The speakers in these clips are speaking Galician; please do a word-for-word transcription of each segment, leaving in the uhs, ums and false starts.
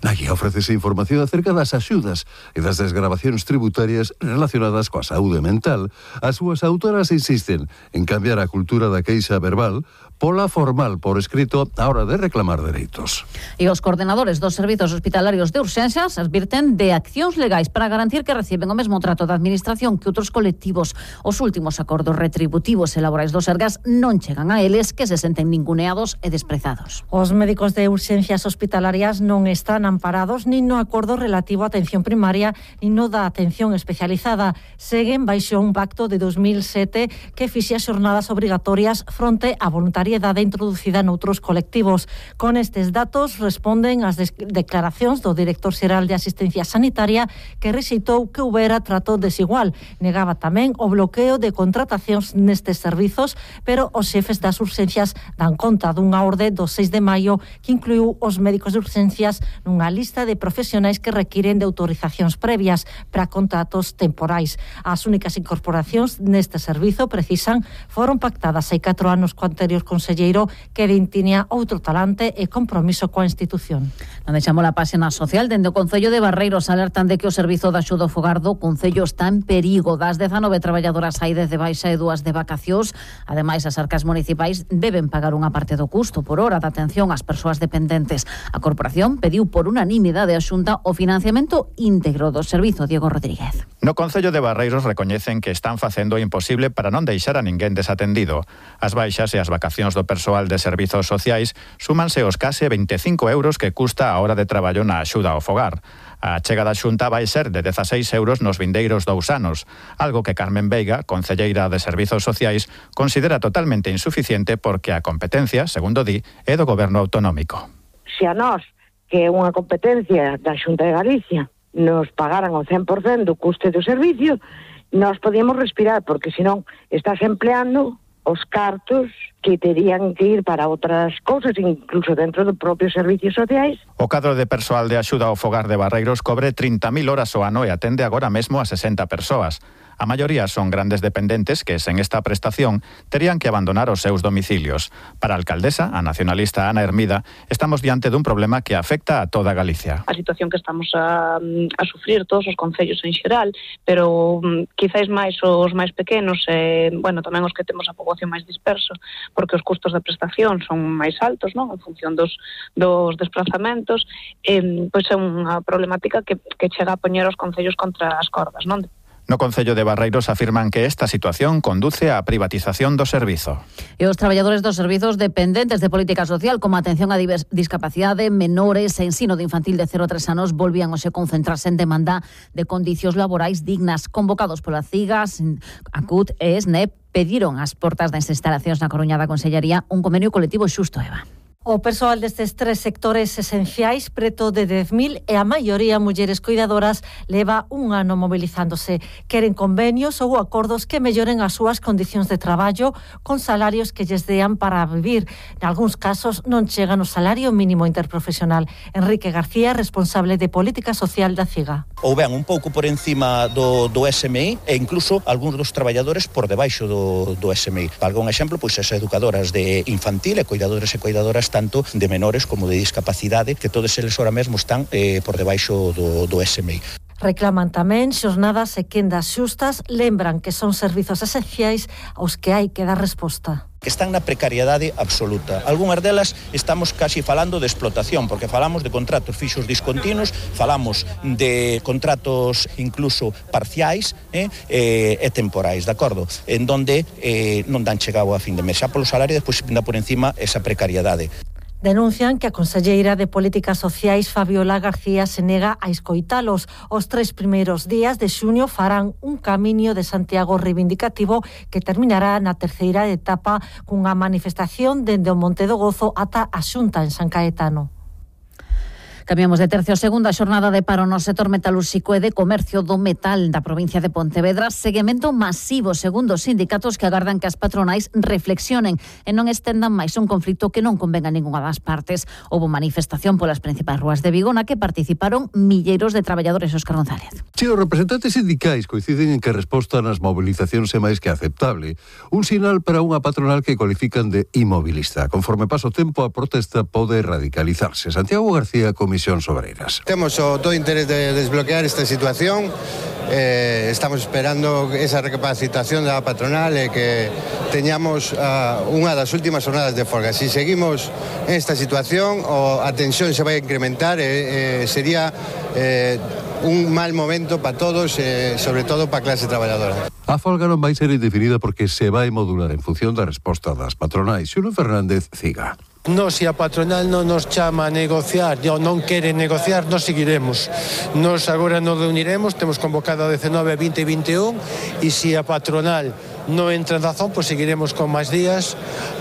Na guía ofrécese información acerca das axudas e das desgravacións tributarias relacionadas coa saúde mental. As súas autoras insisten en cambiar a cultura da queixa verbal pola formal por escrito á hora de reclamar dereitos. E os coordenadores dos servizos hospitalarios de urxencias advirten de accións legais para garantir que reciben o mesmo trato da administración que outros colectivos. Os últimos acordos retributivos e laborais do Sergas non chegan a eles, que se senten ninguneados e desprezados. Os médicos de urxencias hospitalarias non están amparados nin no acordo relativo á atención primaria nin no da atención especializada. Seguen baixo un pacto de dos mil sete que fixe as xornadas obrigatorias fronte á voluntariedade introducida noutros colectivos. Con estes datos responden as declaracións do director xeral de Asistencia Sanitaria, que rexeitou que houbera trato desigual. Negaba tamén o bloqueo de contratacións nestes servizos, pero os xefes das urxencias dan conta dunha orde do seis de maio que incluiu os médicos de urxencias nunha lista de profesionais que requiren de autorizacións previas para contratos temporais. As únicas incorporacións neste servizo, precisan, foron pactadas hai catro anos co anterior conselleiro, que tiña outro talante e compromiso coa institución. Non deixamos a páxina social. Dende o Concello de Barreiros alertan de que o servizo de axuda ao fogar do Concello está en perigo. Das dezanove traballadoras hai dez de baixa e dúas de vacacións. Ademais, as arcas municipais deben pagar unha parte do custo por hora de atención ás persoas dependentes. A corporación pediu por unanimidade a Xunta o financiamento íntegro do servizo. Diego Rodríguez. No Concello de Barreiros recoñecen que están facendo o imposible para non deixar a ninguén desatendido. As baixas e as vacacións do persoal de servizos sociais súmanse os case veinticinco euros que custa a hora de traballo na axuda ao fogar. A chega da Xunta vai ser de dezaseis euros nos vindeiros dous anos, algo que Carmen Veiga, concelleira de Servizos Sociais, considera totalmente insuficiente porque a competencia, segundo di, é do Goberno autonómico. Se a nós, que é unha competencia da Xunta de Galicia, nos pagaran o cen por cento do custe do servicio, nós podíamos respirar, porque senón estás empleando os cartos que terían que ir para outras cousas, incluso dentro dos propios servicios sociais. O cadro de persoal de axuda ao fogar de Barreiros cobre trinta mil horas ao ano e atende agora mesmo a sesenta persoas. A maioría son grandes dependentes que, sen esta prestación, terían que abandonar os seus domicilios. Para a alcaldesa, a nacionalista Ana Hermida, estamos diante dun problema que afecta a toda Galicia. A situación que estamos a, a sufrir todos os concellos en xeral, pero um, quizáis máis os máis pequenos, e, bueno, tamén os que temos a poboación máis disperso, porque os custos de prestación son máis altos, non? En función dos, dos desplazamentos, eh, pois é unha problemática que, que chega a poñer os concellos contra as cordas, non? No Concello de Barreiros afirman que esta situación conduce á privatización do servizo. E os traballadores dos servizos dependentes de política social, como atención a discapacidade, menores e ensino de infantil de cero a tres anos, volvían hoxe concentrarse en demanda de condicións laborais dignas. Convocados pola CIGAS, ACUT e SNEP, pediron ás portas das instalacións na Coruña da Consellería un convenio colectivo xusto, Eva. O persoal destes tres sectores esenciais, preto de dez mil, e a maioría mulleres cuidadoras, leva un ano movilizándose. Queren convenios ou acordos que melloren as súas condicións de traballo con salarios que lles dean para vivir. Nalgúns casos non chegan o salario mínimo interprofesional. Enrique García, responsable de Política Social da CIGA. Ou ben un pouco por encima do, do S M I e incluso algúns dos traballadores por debaixo do, do S M I. Para algún exemplo, pois as educadoras de infantil e cuidadores e cuidadoras tanto de menores como de discapacidade, que todos eles ahora mesmo están eh, por debaixo do, do S M I. Reclaman tamén xornadas e quendas xustas, lembran que son servizos esenciais aos que hai que dar resposta. Que están na precariedade absoluta. Algúnas delas estamos casi falando de explotación, porque falamos de contratos fixos discontinuos, falamos de contratos incluso parciais eh, e, e temporais, de acordo? En donde eh, non dan chegado a fin de mes. Xa polo salario, despois pinda por encima esa precariedade. Denuncian que a conselleira de Políticas Sociais, Fabiola García, se nega a escoitalos. Os tres primeiros días de xuño farán un camiño de Santiago reivindicativo que terminará na terceira etapa cunha manifestación dende o Monte do Gozo ata a Xunta en San Caetano. Cambiamos de tercio. Segunda xornada de paro no sector metalúrxico e de comercio do metal da provincia de Pontevedra. Seguimento masivo, segundo os sindicatos, que agardan que as patronais reflexionen e non estendan máis un conflito que non convenga a ninguna das partes. Houbo manifestación polas principais rúas de Vigo na que participaron milleiros de traballadores. Óscar González. Si, os representantes sindicais coinciden en que a resposta nas mobilizacións é máis que aceptable. Un sinal para unha patronal que cualifican de inmobilista. Conforme pasa o tempo, a protesta pode radicalizarse. Santiago García, con Comisións Obreiras. Temos o todo interés de desbloquear esta situación. Eh, estamos esperando esa recapacitación da patronal e que teñamos uh, unha das últimas jornadas de folga. Si seguimos en esta situación, o a tensión se vai a incrementar e eh, sería eh, un mal momento para todos, eh, sobre todo para a clase traballadora. A folga non vai ser indefinida porque se vai modular en función da resposta das patronais. Xuno Fernández Ciga. Nos, se a patronal non nos chama a negociar ou non quere negociar, nos seguiremos. Nos agora nos reuniremos, temos convocado a dezenove, vinte e vinte e un, e se a patronal non entra en razón, pois seguiremos con máis días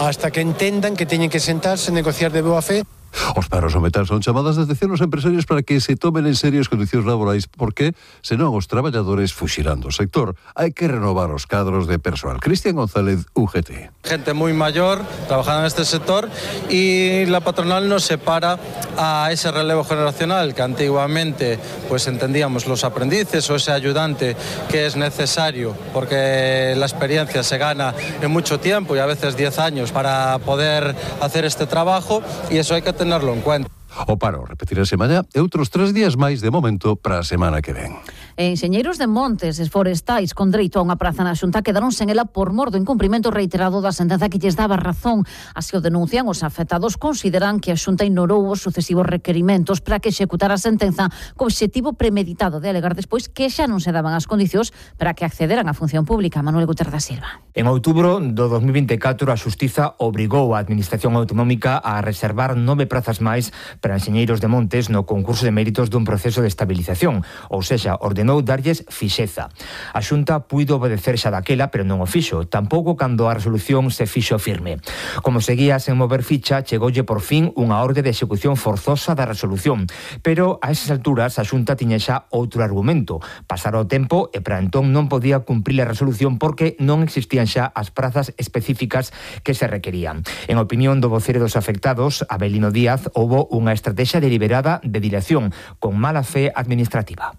hasta que entendan que teñen que sentarse e negociar de boa fe. Os paros ao metal son chamadas de atención aos empresarios para que se tomen en serio as condicións laborais porque, senón, os traballadores fuxirán do sector. Hai que renovar os cadros de persoal. Cristian González, U G T. Gente muy mayor trabajando en este sector y la patronal nos separa a ese relevo generacional que antiguamente pues entendíamos los aprendices o ese ayudante que es necesario porque la experiencia se gana en mucho tiempo y a veces diez años para poder hacer este trabajo y eso hay que tenerlo en cuenta. O paro repetirase mañá e outros tres días máis de momento para a semana que ven. Enxeñeiros de montes e forestais con dereito a unha praza na Xunta quedaron sen ela por mor do incumprimento reiterado da sentenza que lles daba razón. Así o denuncian os afectados, consideran que a Xunta ignorou os sucesivos requerimentos para que executara a sentenza co obxectivo premeditado de alegar despois que xa non se daban as condicións para que accederan á función pública. Manuel Guterres da Silva. En outubro do dos mil vinte e catro a Xustiza obrigou a Administración Autonómica a reservar nove prazas máis para enxeñeiros de montes no concurso de méritos dun proceso de estabilización, ou sexa, ordenou darlles fixeza. A Xunta puido obedecer xa daquela, pero non o fixo, tampouco cando a resolución se fixo firme. Como seguía sen mover ficha, chegoulle por fin unha orde de execución forzosa da resolución, pero a esas alturas a Xunta tiña xa outro argumento. Pasara o tempo e para entón non podía cumprir a resolución porque non existían xa as prazas específicas que se requerían. En opinión do vocero dos afectados, Abelino Díaz, houbo unha estrategia deliberada de dilación con mala fe administrativa.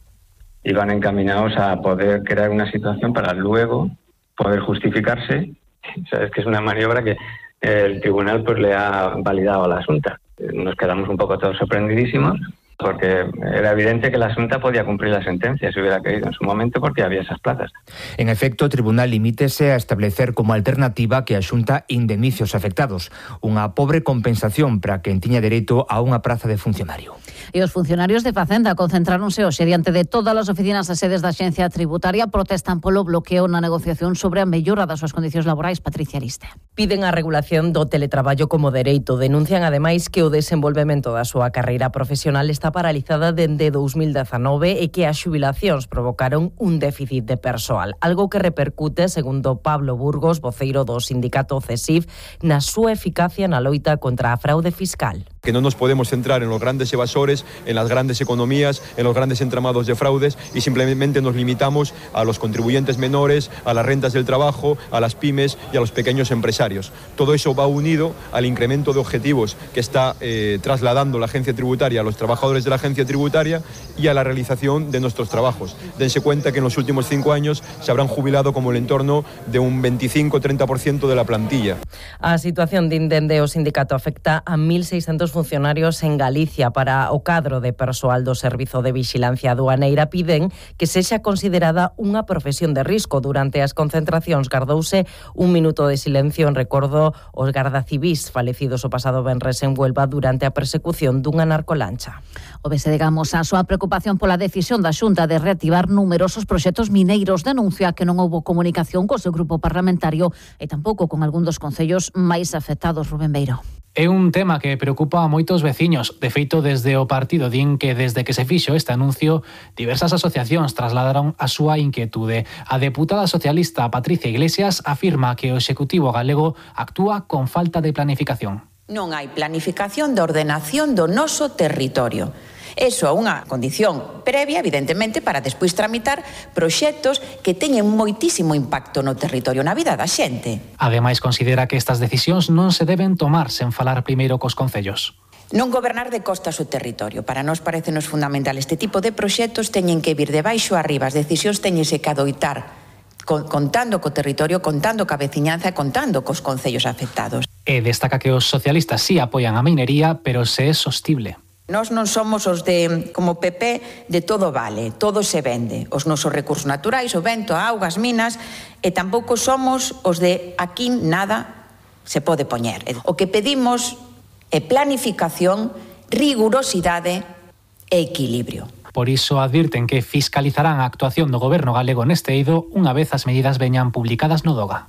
Iban encaminados a poder crear una situación para luego poder justificarse. O sea, es que es una maniobra que el tribunal pues le ha validado a la Xunta. Nos quedamos un poco todos sorprendidísimos porque era evidente que la Xunta podía cumplir la sentencia si hubiera querido en su momento porque había esas plazas. En efecto, o tribunal limítese a establecer como alternativa que a Xunta indemnice os afectados, unha pobre compensación para quen tiña dereito a unha praza de funcionario. E os funcionarios de Facenda concentráronse hoxe diante de todas as oficinas e sedes da Axencia Tributaria, protestan polo bloqueo na negociación sobre a mellora das súas condicións laborais. Patricia Ariste. Piden a regulación do teletraballo como dereito. Denuncian ademais que o desenvolvemento da súa carreira profesional está paralizada dende dos mil dezanove e que as xubilacións provocaron un déficit de persoal, algo que repercute, segundo Pablo Burgos, voceiro do sindicato CESIF, na súa eficacia na loita contra a fraude fiscal. Que no nos podemos centrar en los grandes evasores, en las grandes economías, en los grandes entramados de fraudes y simplemente nos limitamos a los contribuyentes menores, a las rentas del trabajo, a las pymes y a los pequeños empresarios. Todo eso va unido al incremento de objetivos que está eh, trasladando la agencia tributaria a los trabajadores de la agencia tributaria y a la realización de nuestros trabajos. Dense cuenta que en los últimos cinco años se habrán jubilado como el entorno de un veinticinco a treinta por ciento de la plantilla. A situación de indende o sindicato afecta a mil seiscentos funcionarios en Galicia. Para o cadro de persoal do Servizo de Vixilancia Aduaneira piden que sexa considerada unha profesión de risco. Durante as concentracións gardouse un minuto de silencio en recordo aos gardacivís falecidos o pasado venres en Huelva durante a persecución dunha narcolancha. O B S D Gamos a súa preocupación pola decisión da Xunta de reactivar numerosos proxectos mineiros. Denuncia que non houbo comunicación co seu grupo parlamentario e tampouco con algún dos concellos máis afectados. Rubén Beiro. É un tema que preocupa a moitos veciños. De feito, desde o partido din que desde que se fixo este anuncio, diversas asociacións trasladaron a súa inquietude. A deputada socialista Patricia Iglesias afirma que o Executivo galego actúa con falta de planificación. Non hai planificación de ordenación do noso territorio. Eso é unha condición previa, evidentemente, para despois tramitar proxectos que teñen moitísimo impacto no territorio, na vida da xente. Ademais, considera que estas decisións non se deben tomar sen falar primeiro cos concellos. Non gobernar de costas o territorio. Para nós parecenos fundamental. Este tipo de proxectos teñen que vir de baixo a arriba. As decisións teñense que adoitar contando co territorio, contando ca veciñanza e contando cos concellos afectados. E destaca que os socialistas sí apoian a minería, pero se é sostible. Nós non somos os de, como P P, de todo vale, todo se vende. Os nosos recursos naturais, o vento, a auga, as minas, e tampouco somos os de aquí nada se pode poñer. O que pedimos é planificación, rigurosidade e equilibrio. Por iso advirten que fiscalizarán a actuación do goberno galego neste eido unha vez as medidas veñan publicadas no DOGA.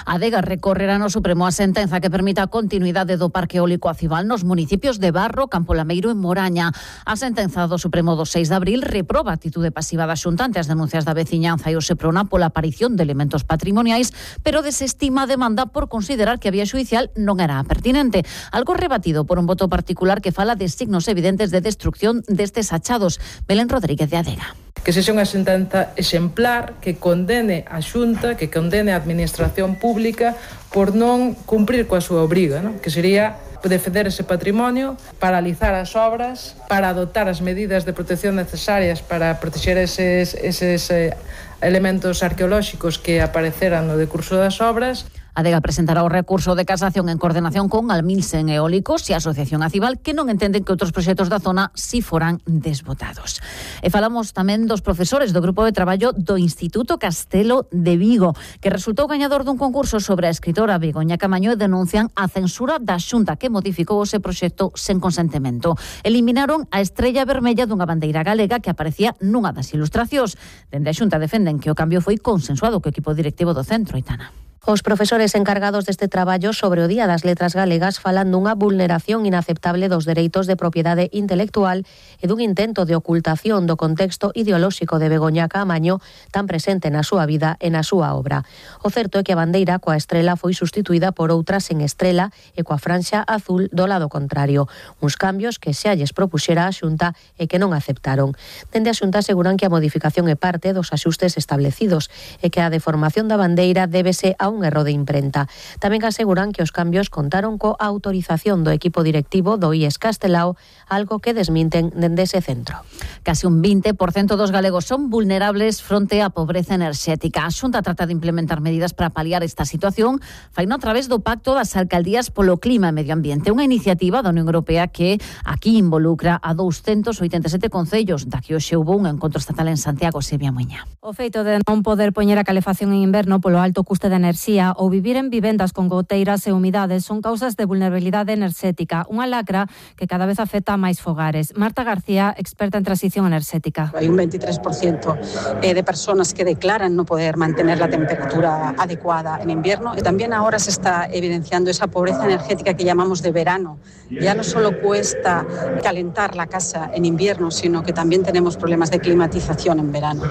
A Adega recorrerá no Supremo a sentenza que permita a continuidade do Parque Eólico Acival nos municipios de Barro, Campo Lameiro e Moraña. A sentenza do Supremo do seis de abril reproba a atitude pasiva da Xunta ante as denuncias da veciñanza e o Seprona pola aparición de elementos patrimoniais, pero desestima a demanda por considerar que a vía xudicial non era pertinente. Algo rebatido por un voto particular que fala de signos evidentes de destrucción destes achados. Belén Rodríguez de Adega. Que sexa unha sentenza exemplar que condene a Xunta, que condene a Administración Pública por non cumprir coa súa obriga, non? Que sería defender ese patrimonio, paralizar as obras, para adoptar as medidas de protección necesarias para proteger eses, eses eh, elementos arqueolóxicos que apareceran no decurso das obras. A Adega presentará o recurso de casación en coordinación con Almilsen Eólicos e a Asociación Acival, que non entenden que outros proxectos da zona si foran desbotados. E falamos tamén dos profesores do grupo de traballo do Instituto Castelo de Vigo, que resultou gañador dun concurso sobre a escritora Begoña Camaño e denuncian a censura da Xunta que modificou ese proxecto sen consentimento. Eliminaron a estrella vermella dunha bandeira galega que aparecía nunha das ilustracións. Dende a Xunta defenden que o cambio foi consensuado co equipo directivo do centro, Aitana. Os profesores encargados deste traballo sobre o Día das Letras Galegas falan dunha vulneración inaceptable dos dereitos de propiedade intelectual e dun intento de ocultación do contexto ideolóxico de Begoña Caamaño tan presente na súa vida e na súa obra. O certo é que a bandeira coa estrela foi sustituída por outra sen estrela e coa franxa azul do lado contrario. Uns cambios que xa lles propuxera a Xunta e que non aceptaron. Dende a Xunta aseguran que a modificación é parte dos axustes establecidos e que a deformación da bandeira débese a un erro de imprenta. Tamén aseguran que os cambios contaron coa autorización do equipo directivo do I E S Castelao, algo que desminten dende ese centro. Casi un vinte por cento dos galegos son vulnerables fronte á pobreza enerxética. A Xunta trata de implementar medidas para paliar esta situación, faino a través do Pacto das Alcaldías polo Clima e Medio Ambiente, unha iniciativa da Unión Europea que aquí involucra a douscentos oitenta e sete concellos, da que hoxe houve un encontro estatal en Santiago, Sevilla Muña. O feito de non poder poñer a calefacción en inverno polo alto custe de enerxía ou vivir en vivendas con goteiras e humidades son causas de vulnerabilidade enerxética, unha lacra que cada vez afecta a máis fogares. Marta García, experta en transición enerxética. Hai un veintitrés por ciento de personas que declaran no poder mantener la temperatura adecuada en invierno y también ahora se está evidenciando esa pobreza energética que llamamos de verano. Ya no solo cuesta calentar la casa en invierno, sino que también tenemos problemas de climatización en verano.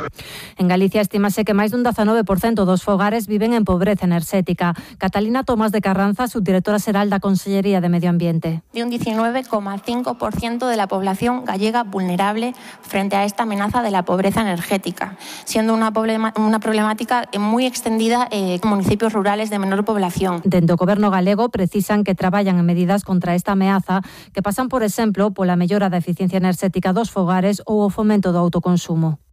En Galicia estimase que máis dun dezanove por cento dos fogares viven en pobreza enerxética. Catalina Tomás de Carranza, subdirectora xeral da Consellería de Medio Ambiente. De un diecinueve coma cinco por ciento de la población gallega vulnerable frente a esta amenaza de la pobreza energética, siendo una, problema, una problemática muy extendida en municipios rurales de menor población. Dende o Goberno galego precisan que traballan en medidas contra esta ameaza que pasan, por exemplo, pola mellora da eficiencia enerxética dos fogares ou o fomento do autoconsumo.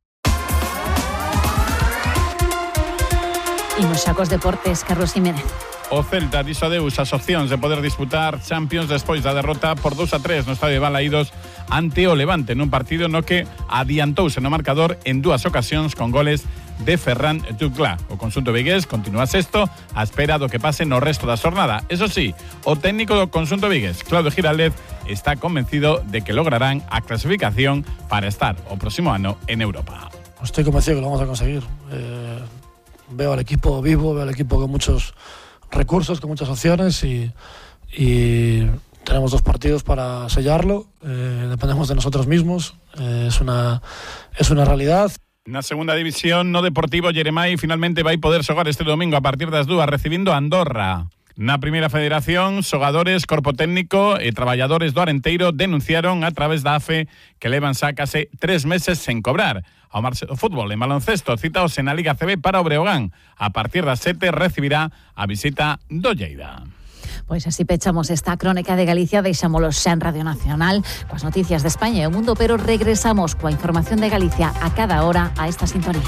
Imos xa cos deportes, Carlos Jiménez. O Celta dixo adeus ás opcións de poder disputar Champions despois da derrota por dous a tres no estadio de Balaídos ante o Levante, nun partido no que adiantouse no marcador en dúas ocasións con goles de Ferran Tuclá. O conxunto vigués continúa sexto á espera do que pase no resto da xornada. Eso sí, o técnico do conxunto vigués, Claudio Giraldez, está convencido de que lograrán a clasificación para estar o próximo ano en Europa. Estoy convencido que lo vamos a conseguir. Eh... Veo al equipo vivo, veo al equipo con muchos recursos, con muchas opciones y, y tenemos dos partidos para sellarlo. Eh, dependemos de nosotros mismos. Eh, es una, es una realidad. Na segunda división, no Deportivo Jeremai finalmente vai poder xogar este domingo a partir das dúas recibindo a Andorra. Na primeira federación, xogadores, corpo técnico e traballadores do Arenteiro denunciaron a través da A F E que levan xa case tres meses sen cobrar. Ao marxe do fútbol en baloncesto, citaos na Liga C B para o Breogán. A partir das sete recibirá a visita do Lleida. Pois así pechamos esta crónica de Galicia, deixámolo xa en Radio Nacional coas noticias de España e o mundo, pero regresamos coa información de Galicia a cada hora a esta sintonía.